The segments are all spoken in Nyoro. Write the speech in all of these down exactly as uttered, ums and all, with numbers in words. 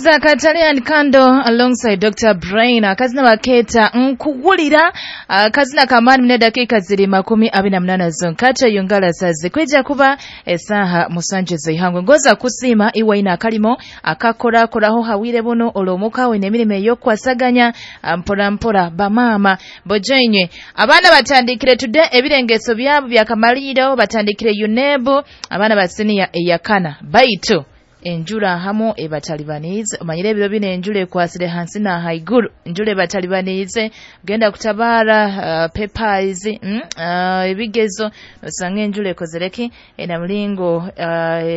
That's Katale and Kando alongside Doctor Brain. Akazina baketa nkuwulira, akazina kamani mne dakika ziri makumi abiri na munana zonkata yongala sazi kwijja kuba esaha musanje zihangwe ngoza kusima iwa ina akalimo akakora koraho hawire buno olomuka we n'emirimo ey'okwasaganya mpora mpora bamama bojenywe abaana batandikire today ebirengeso byabo byakamaliro batandikire UNEB abaana basiniya eyakana baitu enjura hamu ebatalibanize omanyire ebiro bino enjura ekwasire hansi na haiguru enjura ebatalibanize genda kutabara uh, papers mm, uh, ebigezo osanga enjura ekozereki ena mulingo uh,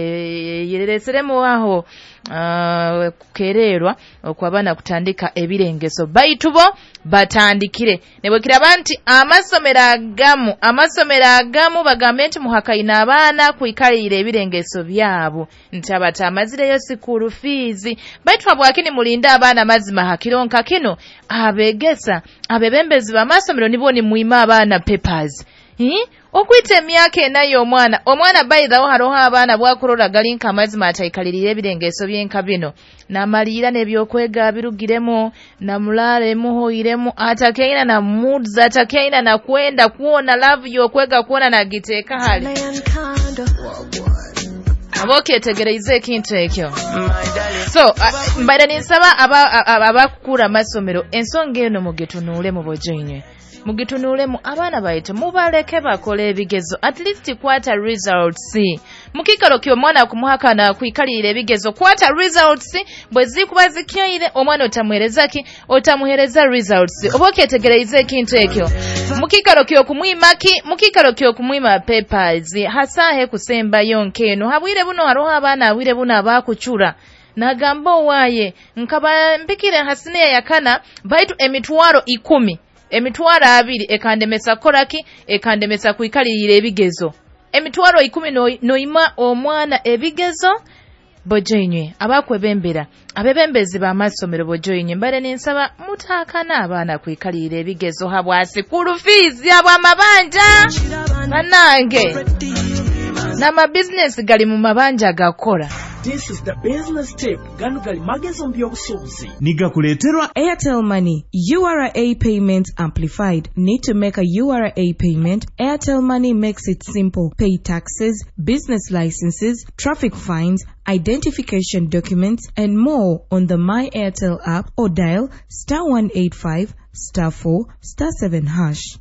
yereseremu aho uh, kukererwa okwabana kutandika ebirengeso baitu bo batandikire nebwekiraba nti amasomero agamu amasomero agamu bagambe nti muhakaina abaana kwikalira ebirengeso byabo nti abatamazireyo school fees baitu habwakini mulinda abaana mazima hakironka kino abegesa abebembezi b'amasomero nibo ni muima abaana papers hmm? Okwita emyaka enayo omwana omwana bayithawo haroho abaana bwakurora galinka amazima ataikalirira ebirengeso byenka bino namalira n'ebyokwega birugiremu namulale muhoiremu atakeina na moods atakeina na kwenda kuona love yokwega kuona nagiteeka hali aboketegereize ekintu ekyo. So uh, mbaire ninsaba abakukura amasomero ensonga eno mugetunuule mu bojoinywe mugitunuulemu abaana baitu mubaleke bakole ebigezo at least kwata results mukikalo ky'omwana kumuhakana kwikalira ebigezo kwata results bwe zikuba zikyaire omwana otamuhereza ki otamuhereza results oba okyetegereize ekintu ekyo mukikalo ky'okumwima ki mukikalo ky'okumwima papers hasahe kusembayo nkeno habwire buno haroho abaana abwire buno abakucura nagamba owaye nkaba mpikire hasiniya yakana baitu emitwaro ikumi emitwaro abiri ekandemesa koraki ekandemesa kwikalirira ebigezo emitwaro ikumi noima omwana ebigezo bojoinywe abakwebembera abebembezi b'amasomero bojoinywe mbale ninsaba mutakana abaana kwikalirira ebigezo habwa school fees habw'amabanja banange n'amabizinesi gali mu mabanja gakora. This is the business tip. Gano gali magezo mbyobusuubuzi. Nigakuleeterwa Airtel Money. U R A payments amplified. Need to make a U R A payment? Airtel Money makes it simple. Pay taxes, business licenses, traffic fines, identification documents, and more on the My Airtel app or dial star one eight five star four star seven hash.